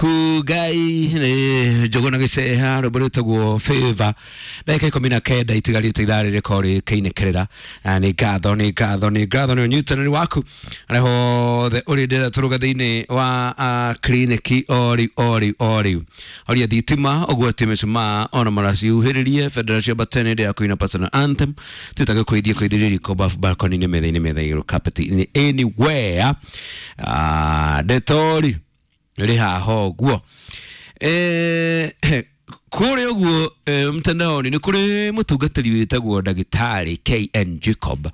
Kugai nĩ Njũgũna gĩceha rwĩmbo rwĩtagwo Favor. Ndagĩka 19 itigarĩte ithaa rĩrĩ rĩkorwo rĩkĩinĩkĩrĩra. Na nĩ ngatho, nĩ ngatho, nĩ ngatho nĩ ũnyitanĩri waku harĩa hothe ũrĩ. Ndĩrenda tũrũge thĩinĩ wa kiriniki o rĩu o rĩu o rĩu. Horia thitima, ũgwatie mĩcumaa ona maracihuhĩrĩrie bendera cia batene ĩrĩa ya kũina personal anthem twĩtage kũithie kũithĩria riko bafu balcony-inĩ, metha-inĩ, metha igũrũ, carpet-inĩ, anywhere. Ndetori rĩ haha ũguo kũrĩa ũguo mtandaoni nĩ kũrĩ mũtungatĩri wĩtagwo ndagĩtarĩ KN Jacob,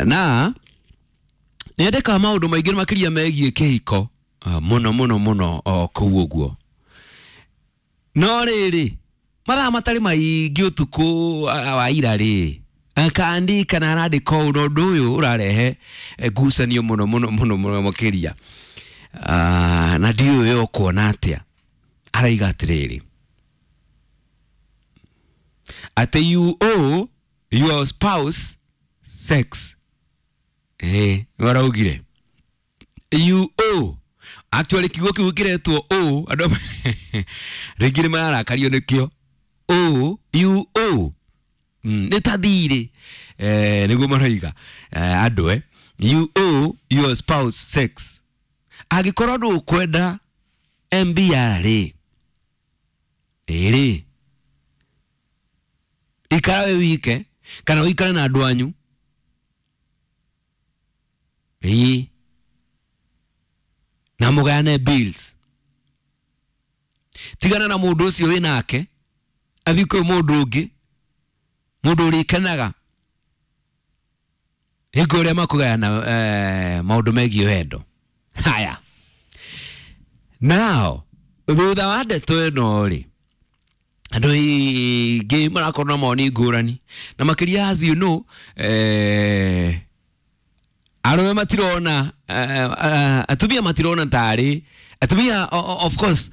na nĩ andĩkaga maũndũ maingĩ makĩria megiĩ kĩhiko mũno mũno mũno o kũu ũguo. No rĩrĩ, mathaa matarĩ maingĩ ũtukũ wa ira rĩ, akandika na arandĩka ũũ, na ũndũ ũyũ ũrarehe ngucanio mũno mũno mũno mũno makĩria. Na ndiũĩ we ũkuona atĩa. Araiga atĩrĩrĩ, atĩ you owe your spouse sex. Waraugire you owe. Actually kiugo kĩu kĩretwo owe, andũ rĩngĩ nĩ mararakario nĩkĩo. Owe, you owe, nĩ ta thirĩ, nĩguo maroiga andũ. You owe your spouse sex. Angĩkorwo ndũkwenda MBR rĩ, ĩrĩ ikara we wike kana ũikare na andũ anyu, ĩĩ, na mũgayane bills. Tigana na mũndũ ũcio wĩ nake, athiĩ kwĩ mũndũ ũngĩ, mũndũ ũrĩkenaga hingo ĩrĩa makũgayana maũndũ megiĩ wendo. Haya, now thutha wa ndeto ĩno rĩ, andũ aingĩ marakorwo na mawoni ngũrani, na makĩria, as you know, arũme matirona, atumia matirona tarĩ atumia. Of course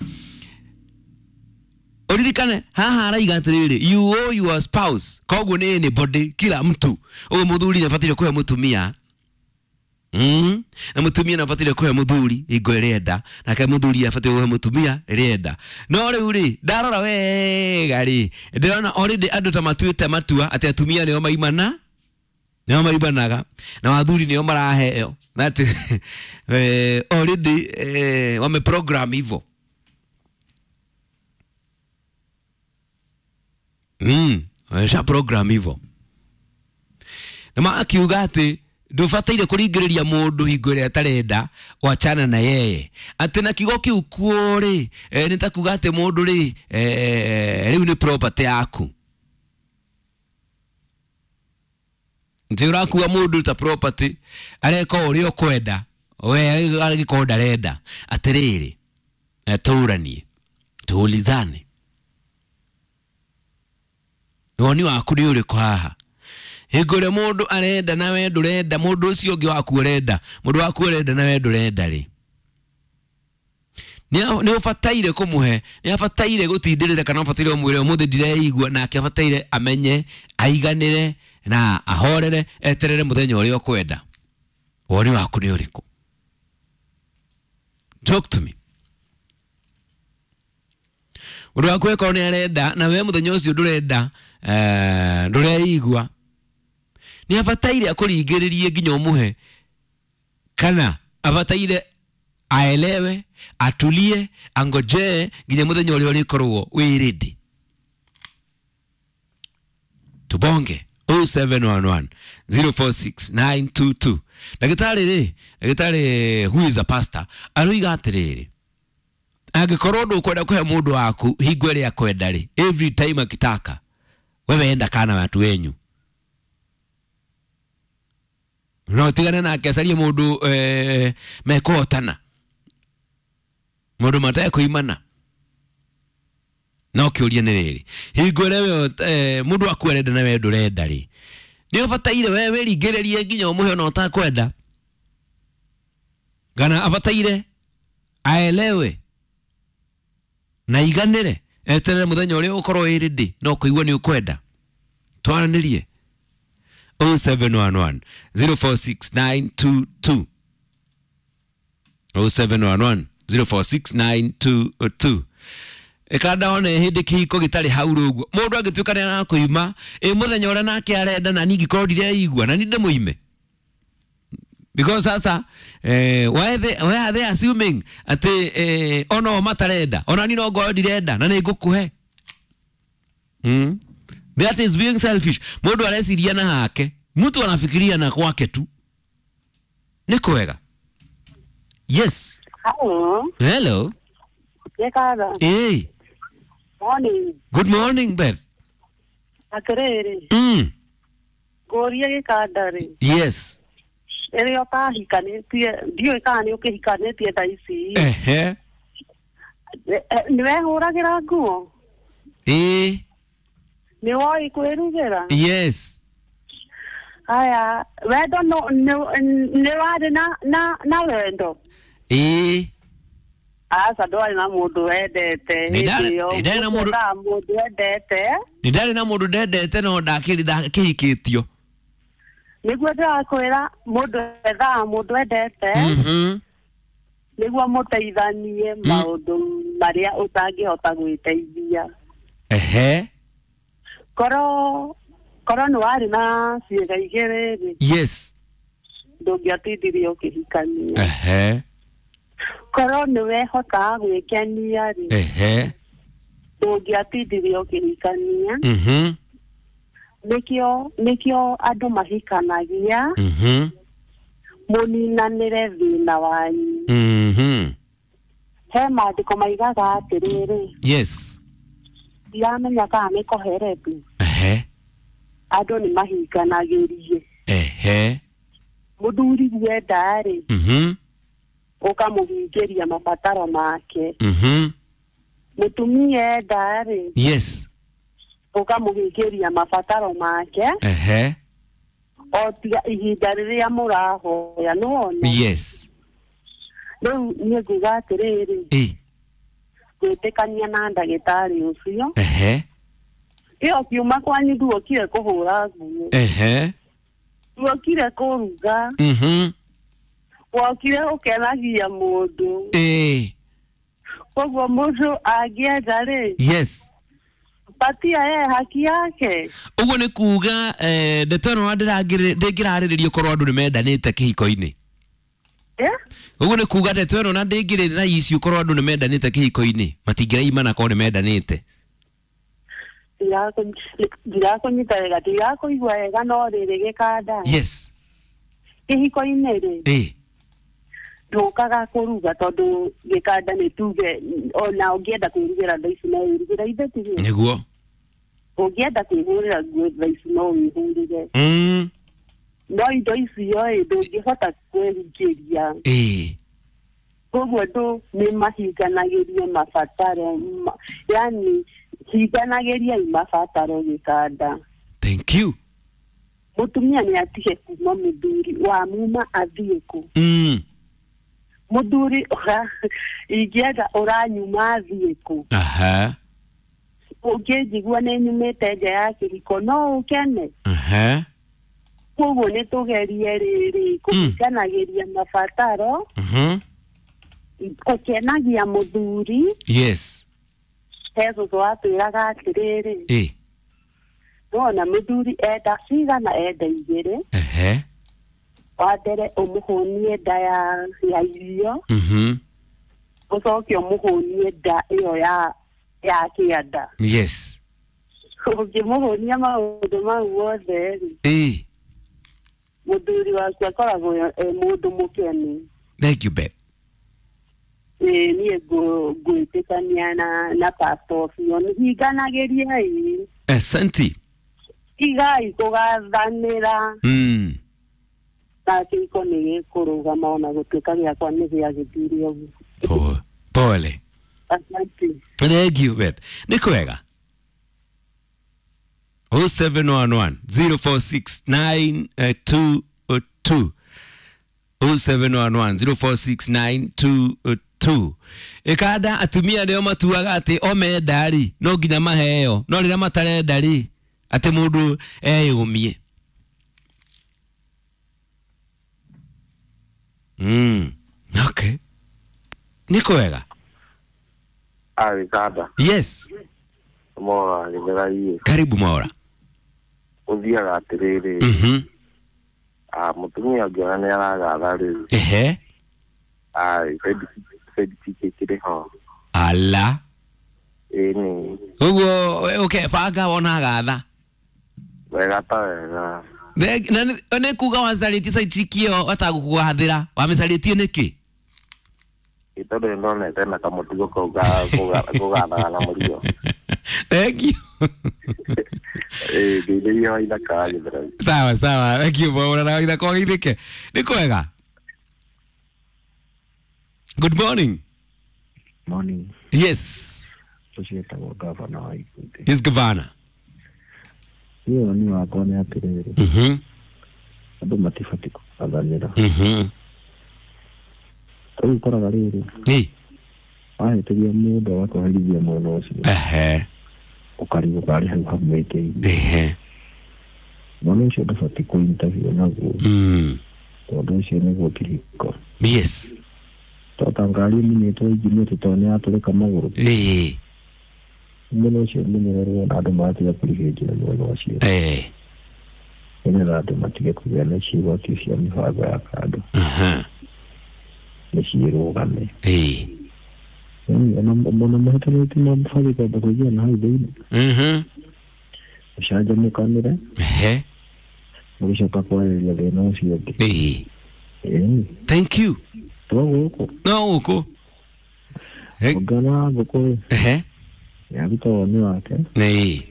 uririkane haha araiga atiriri, you owe your spouse, koguo nĩ anybody, kila mtu. Ũguo mũthuri nĩ abataire kũhe mũtumia, na mũtumia nĩ abataire kũhe mũthuri hingo ĩrĩa enda, nake mũthuri abataire kũhe mũtumia rĩrĩa enda. No rĩu rĩ, ndarora wega rĩ, ndĩrona already andũ ta matuĩte matua atĩ atumia nĩo maimana, nĩo maimanaga, na athuri nĩo maraheo. That already wameprogram hivyo. Wamesha program hivyo na makiuga atĩ ndũbataire kũringĩrĩria mũndũ hingo ĩrĩa atarenda, wachana na yeye. Atĩ na kiugo kĩu kuo rĩ, nĩ ta kuga atĩ mũndũ rĩ, rĩu nĩ property yaku, nĩ ũrakua mũndũ ta property, areka o ũrĩa ũkwenda we agĩkorwo ndarenda. Atĩrĩrĩ, tũranie, tuulizane, woni waku nĩ ũrĩkũ haha? Hingo ĩrĩa mũndũ arenda na we ndũrenda, mũndũ ũcio ũngĩ waku arenda, mũndũ waku arenda na we ndũrenda rĩ, nĩ ũbataire kũmũhe, nĩ abataire gũtindĩrĩra, kana ũbataire ũmwĩre ũmũthĩ ndireigua, nake abataire amenye, aiganĩre na ahorere, eterere mũthenya ũrĩa ũkwenda? Woni waku nĩ ũrĩkũ? Talk to me. Ũndũ waku ĩkorwo nĩ arenda na we mũthenya ũcio ndũrenda, ndũreigua, nĩ abataire akũringĩrĩrie nginya ũmũhe, kana abataire aelewe, atulie, angojee nginya mũthenya ũrĩa ũrĩkorwo wĩ ready? Tubonge 0711 046 922. Ndagĩtarĩ rĩ, ndagĩtarĩ who is a pastor, aroiga atĩrĩrĩ, angĩkorwo ndũkwenda kũhe mũndũ waku hingo ĩrĩa akwenda rĩ, every time akitaka, wewe enda kana watu wenyu, no tigane nake, acarie mũndũ mekũhotana, mũndũ matekũimana. No kĩũria nĩ rĩrĩ, hingo ĩrĩa we mũndũ waku arenda na we ndũrenda rĩ, nĩ ũbataire we wĩringĩrĩrie nginya ũmũhe ona ũtakwenda, kana abataire aelewe na iganĩre, eterere mũthenya ũrĩa ũkorwo wĩ ready no kũigua nĩ ũkwenda? Twaranĩrie 0711 046 922, 0711 046922. Ĩkanda one hĩndĩ kĩhiko gĩtarĩ hau rũguo mũndũ angĩtuĩka nĩ arakũima ĩ mũthenya ũrĩa nake arenda na niĩ ngĩkorwo ndireigua na niĩ ndĩmũime. Because sasa why are they assuming atĩ ona o matarenda ona niĩ no ngorwo ndirenda na nĩ ngũkũhe? That is being selfish. Mũndũ areciria na hake, mtu anafikiria na kwake tu. Nĩ kwega. Yes. Hello. Hello. Gĩkatha. Hey. Morning. Good morning, Beth. Atĩrĩrĩ. Ngũrie gĩkanda rĩ. Yes. Rĩrĩa ũtahikanĩtie, ndiũĩ kana nĩ ũkĩhikanĩtie thaa ici. Ehe. Nĩ wehũragĩra nguo? Ĩĩ. Nĩ woĩ kwĩrugĩra? Yes. Haya, wendo nĩ warĩ na wendo? Ĩĩ. Aca, ndwarĩ na mũndũ wendete hĩndĩ ĩyo. Nĩ ndarĩ na mũndũ- Mũndũ mũndũ wendete. Nĩ ndarĩ na mũndũ ndendete no ndakĩrĩ ndakĩhikĩtio. Nĩguo ndĩrakwĩra mũndũ ethaga mũndũ wendete. Nĩguo mũteithanie maũndũ marĩa ũtangĩhota gwĩteithia. Ehe. Korwo nĩ warĩ na ciĩga igĩrĩ rĩ. Yes. Ndũngĩatindirie ũkĩhikania. Ehe. Korwo nĩ wehotaga gwĩkenia rĩ. Ehe. Ndũngĩatindirie ũkĩhikania. Nĩkĩo andũ mahikanagia. Mũninanĩre thĩna wanyu. He maandĩko maigaga atĩrĩrĩ. Yes. Ndiramenya kana nĩ koherethu. Ehe. Andũ nĩ mahinganagĩrie. Ehe. Mũthuri wenda rĩ. Ũkamũhingĩria mabataro make. Mũtumia enda rĩ. Yes. Ũkamũhingĩria mabataro make. Ehe. O tiga ihinda rĩrĩa mũrahoya nĩwona. Yes. Rĩu niĩ nguga atĩrĩrĩ. Gwĩtĩkania na ndagĩtarĩ ũcio. Ehe. Ĩyo kiuma kwanyu nduokire kũhũra nguo. Ehe. Nduokire kũruga. Wokire ũkenagia mũndũ. Ĩĩ. Koguo mũndũ angĩenda rĩ. Yes. Patia ye haki yake. Ũguo nĩ kuga ndeto ĩno ndĩngĩrarĩrĩrio korwo andũ nĩ mendanĩte kĩhiko-inĩ. Ũguo nĩ kuga ndeto ĩno na ndĩngĩrĩ na issue korwo andũ nĩ mendanĩte kĩhiko-inĩ, matingĩraimana korwo nĩ mendanĩte. Ndirakũnyita wega, ndirakũigua wega no rĩrĩ gĩkanda. Yes. Kĩhiko-inĩ rĩ. Ĩĩ. Ndũkaga kũruga tondũ gĩkanda nĩ tuge ona ũngĩenda kwĩrugĩra thaa ici no wĩrugĩre ithe tiguo. Nĩguo. Ũngĩenda kwĩhũrĩra nguo thaa ici no wĩhũrĩre. No indo icio ĩ ndũngĩhota kwĩhingĩria. Ĩĩ. Koguo andũ nĩ mahinganagĩrie mabataro, yani hinganagĩriai mabataro gĩkanda. Thank you. Mũtumia nĩ atige kuma mũthuri wa muma athiĩ kũ. Mũthuri ingĩenda ũranyuma athiĩ kũ. Aha. Ũngĩnjigua nĩ nyumĩte nja ya kĩhiko no ũkene. Aha. Koguo nĩ tũgerie rĩrĩ kũhinganagĩria mabataro. Gũkenagia mũthuri. Yes. He cũcũ atwĩraga atĩrĩrĩ. Ĩĩ. Nĩwona mũthuri enda cigana enda igĩrĩ. Ehe. Wa mbere ũmũhũnie nda ya irio. Ũcoke ũmũhũnie nda ĩyo ya kĩanda. Yes. Ũngĩmũhũnia maũndũ mau mothe rĩ. Ĩĩ. Mũthuri waku akoragwo e mũndũ mũkenu. Thank you, Beth. Ĩĩ niĩ ngwĩtĩkania na pastor ũcio. Hinganagĩriai. Asante. Tigai kũgathanĩra. Na kĩhiko nĩ gĩkũrũgama ona gũtuĩka gĩakwa nĩ gĩagĩthire ũguo. Pole. Asante. Thank you, Beth. Nĩ kwega. 0711 046 922. 0711 046 922. Ĩkanda atumia nĩo matuaga atĩ o menda rĩ no nginya maheo, no rĩrĩa matarenda rĩ atĩ mũndũ eyũmie. Okay. Nĩ kwega. Agĩkanda. Yes. Mora gĩthera. Karibu Mora. Ũthiaga atĩrĩrĩ. Mũtumia ũngĩona nĩ aragatha rĩ. Ehe. Side kĩrĩ ho. Ala. Ĩni. Ũguo okay, banga wona gatha. Wega ta wega. Na nĩ kuga wacarĩtie side chick ĩyo atagũkũgathĩra. Wamĩcarĩtie nĩkĩ? Tondũ nĩ ndonete na kamũtugo kau ga kũgathaga na mũrigo. Thank you. Ngeithĩria wa ithaka wa Gĩthũrai. Sawa sawa. Thank you Mwaura na ithaka wa Gĩthĩke. Nĩ kwega. Good morning. Morning. Yes. Ũcio wĩtagwo gavana wa Ikundi. Yes, governor. Niĩ woni wakwa nĩ atĩrĩrĩ. Andũ matibatiĩ kũgathanĩra. Rĩu ũkoraga rĩrĩ. Ĩ. Wahĩtĩria mũndũ agakũherithia mwena ũcio. Ehe. Ũkarigwo karĩ hau hamwĩkĩire. Ehe. Mwana ũcio ndũbatiĩ kũ-interview naguo. Tondũ ũcio nĩguo kĩhiko. Yes. Tota ngari ĩmunyĩtwo injini atĩ tondũ nĩyatũrĩka magũrũ. Ĩ. Mwena ũcio ũmenyererwo na andũ magatiga kũrigĩrĩria mwena ũcio. Ĩ. Nĩgetha andũ matige kũgĩa na ciĩgwatio cia mĩbango ya kando. Nĩ ciĩrũgame. Ĩ. Ona mahĩtanĩtie mabatiĩ kwamba kũingĩra na hau thĩinĩ. Mũcanjamũkanĩre. Ehe. Mũgĩcoka kwarĩrĩria thĩna ũcio ũngĩ. Ĩ. Thank you. To gũkũ. No gũkũ. Ũngana ngũkũ. Ehe. Nĩaruta woni wake. Ĩ.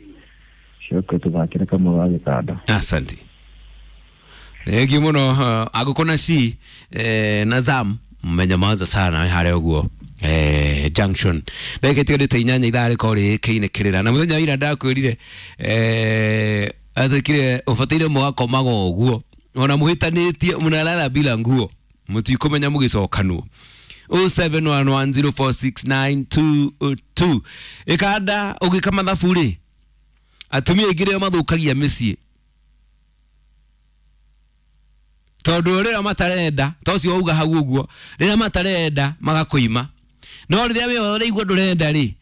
Coke tũthakĩre kamwe ga gĩtanda. Asante. Thank you mũno agũkũ na ci na Zam mmenyamaza sana harĩa ũguo junction. Ndagĩka itigarĩte 8 ithaa rĩkorwo rĩkĩinĩkĩrĩra. Na mũthenya wa ira ndakwĩrire atĩkire ũbataire mũgakomaga ũguo ona mũhĩtanĩtie mũnarara bila nguo mũtikũmenya mũgĩcokanwo. 0711046922 ĩkanda ũgĩka mathabu rĩ atumia aingĩ rĩo mathũkagia mĩciĩ tondũ rĩrĩa matarenda ta ũcio wauga hau ũguo rĩrĩa matarenda magakũima no rĩrĩa we ũraigua ndũrenda rĩ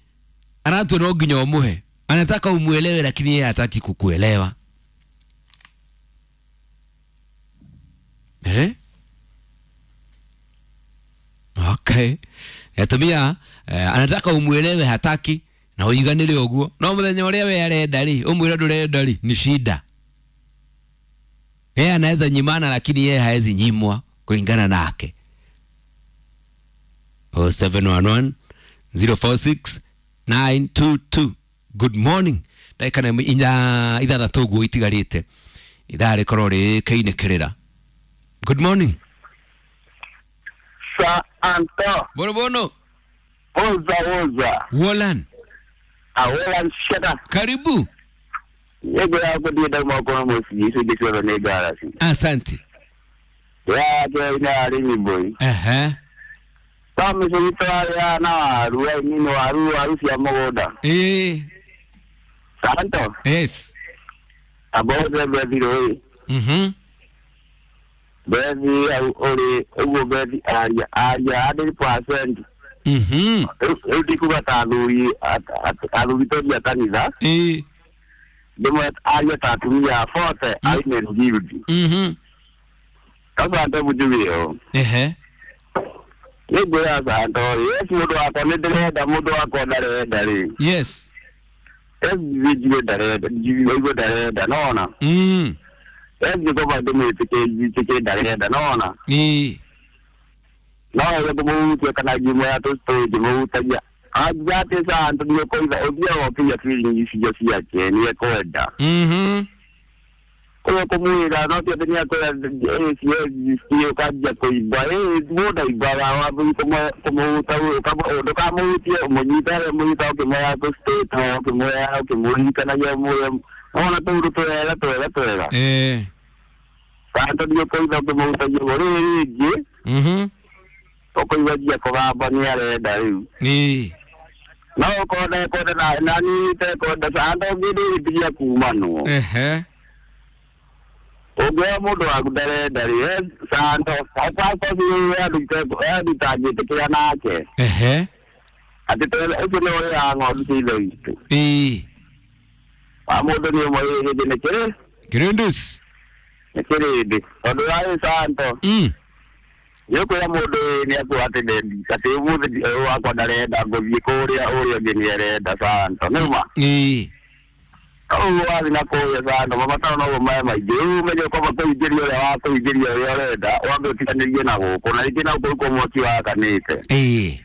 aratua no nginya ũmũhe anataka umuelewe lakini yeye hataki kukuelewa. Eh? Okay. Atumia anataka umuelewe hataki na uiganire ũguo no mũthenya ũrĩa we arenda rĩ ũmwĩre ndũrenda rĩ ni shida. Yeye anaweza nyimana lakini yeye haezi nyimwa kulingana nake. 0711 046 922. Good morning. Ndagĩka na 6 ũguo itigarĩte ithaa rĩkorwo rĩkĩinĩkĩrĩra. Good morning. Sa Anto. Bono bono. Oza oza. Wolan. Awolan shaka. Karibu. Yego yako ndiye daima uko mosi iso gisoro ne garasi. Asante. Ya ke ina ari ni boy. Ehe. Kama se ya na waru ya ni waru waru cia mũgũnda. Eh. Santo. Yes. Aboze bethi roi. Bethi au ori uguo bethi aria aria 100%. Rĩu ndikuga ta athuri athuri toria kanitha. Eh. Ndimwe aria ta atumia 40 aine guild. Kaba ndo mujugio. Ehe. Nĩngwĩra Santo, yes mũndũ wakwa nĩ ndĩrenda mũndũ wakwa ndarenda rĩ. Yes. Yes njigue ndarenda njigue ndarenda nona. Yes ngoma ndĩmwĩtĩkĩrie ndarenda nona. Ĩ. No ĩrĩa kũmũhutia kana ngĩmwĩra tũstory ngĩmũhutagia. Anjate Santo nĩũkũiga ũthiaga ũkĩiga feeling icio ciake nĩekwenda. Kũrĩa kũmwĩra no ti atĩ nĩakwĩra ĩĩ ũkanjia kũimba ĩĩ mũndũ aimbaga wambĩrĩria kũmũhuta ndũkamũhutie ũmũnyite harĩa ũmũnyita ũkĩmwĩra tũstory ũkĩmwĩra ũkĩmũririkanagia ũmwĩre ona tũũndũ twega twega twega. Ĩĩ. Santo nĩũkũiga ũkĩmũhutagia ũguo rĩu rĩngĩ ũkũigua njia kũgamba nĩarenda rĩu. Ĩĩ. No ũkorwo ndekwenda na niĩ itekwenda Santo ngĩndĩrĩtigia kumanwo. Ehe. Ũngĩoya mũndũ waku ndarenda rĩ, sando andũ itangĩtĩkĩra nake. Ehe. Atĩ ũcio nĩ ũrĩaga ng'ondu cia ithe witũ. Ĩĩ. Wa mũndũ nĩ ũmwe hĩndĩ nĩ kĩrĩ? Kĩrĩndĩ. Nĩ kĩrĩndĩ. Tondũ warĩ santo. Nĩ ũkwĩra mũndũ nĩ akuga atĩ ndendi atĩ ũmũthĩ wakwa ndarenda ngũthiĩ kũrĩa ũrĩa ũngĩ nĩ arenda santo. Nĩ ma? Ĩĩ. Ũguo wathiĩ na kũrĩa santo mabataro noguo me maingĩ. Rĩu ũmenye kwamba kũingĩria ũrĩa wa kũingĩria ũrĩa ũrenda wambe ũtiganĩrie na gũkũ na rĩngĩ na gũkũ mwaki wakanĩte. Ĩĩ.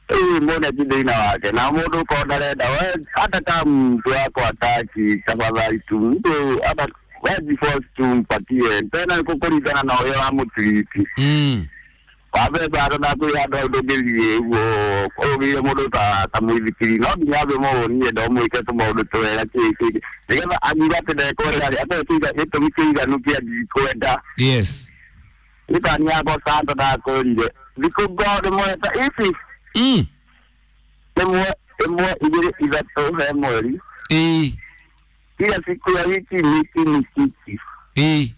Rĩu mbona ti thĩna wake na mũndũ ũkorwo ndarenda we hata kama mtu wako hataki tafadhali tu mtu hata wewe tumpatie tena kũringana na ũrĩa wamũtiriti. Wambe bado na kwĩ handũ ndũngĩthiĩ ũguo ũgĩire mũndũ ta mũithikiri no nginya ambe mũwonie ndo mwĩke tũmaũndũ twega kĩ nĩgetha angiuga atĩ ndekwenda rĩ akorwo gĩtũmi kĩiganu kĩa ndikwenda. Yes. Nĩtani yakwa santo ndakwĩrire thikũ ngoo ndĩmweta ici. Ĩmwe ĩmwe igĩrĩ ithatũ he mweri. Ĩĩ. Kila siku ya wiki miki mikiki. Ĩĩ.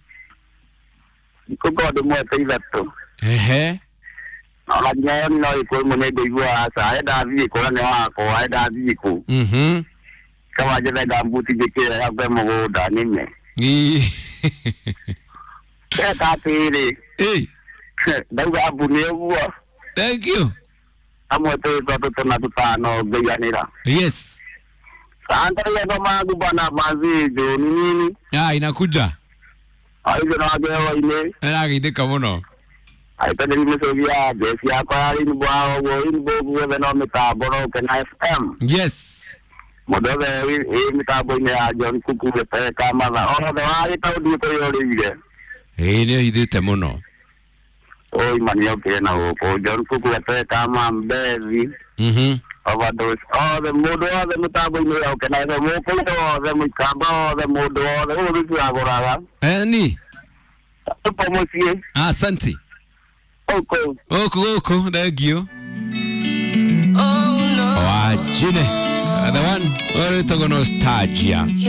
Thikũ ngoo ndĩmweta ithatũ. Ehe. Ona nginya no ĩkũ ĩmwe nĩ ngũigua aca enda thiĩ kũ na nĩ wakwa enda thiĩ kũ. Kaba njethe ngambuti njĩkĩre yakwe mũgũnda nĩme. Ĩĩ. Eka atĩrĩ. Ĩĩ. Ndauga ambu nĩ ũguo. Thank you. Amwe twĩ tũtũ na tũtano ngaiganĩra. Yes. Sasa kama bana mazijo ni nini? Ah, inakuja. Hizo na wagewa ile. Narageithĩka mũno. Aitagĩri mĩcũgi ya njeci yakwa ya Rainbow ũguo Rainbow guothe no mĩtambo no Kena FM. Yes. Mũndũ wothe wĩ mĩtambo-inĩ ya John Kuku Rebecca Matha othe wa gĩtaũndi kwĩyũrĩire. Ĩĩ nĩ hithĩte mũno. Oi maniokire na gũkũ John Kuku Rebecca Mambethi. Overdose othe mũndũ wothe mũtambo-inĩ ya Kena FM mũkũrũ wothe mũikamba wothe mũndũ wothe ũguo tũtiragũraga. Ni. Tupo mũciĩ. Asante. Oko. Oko oko, thank you. Wajine. The one, we're talking nostalgia.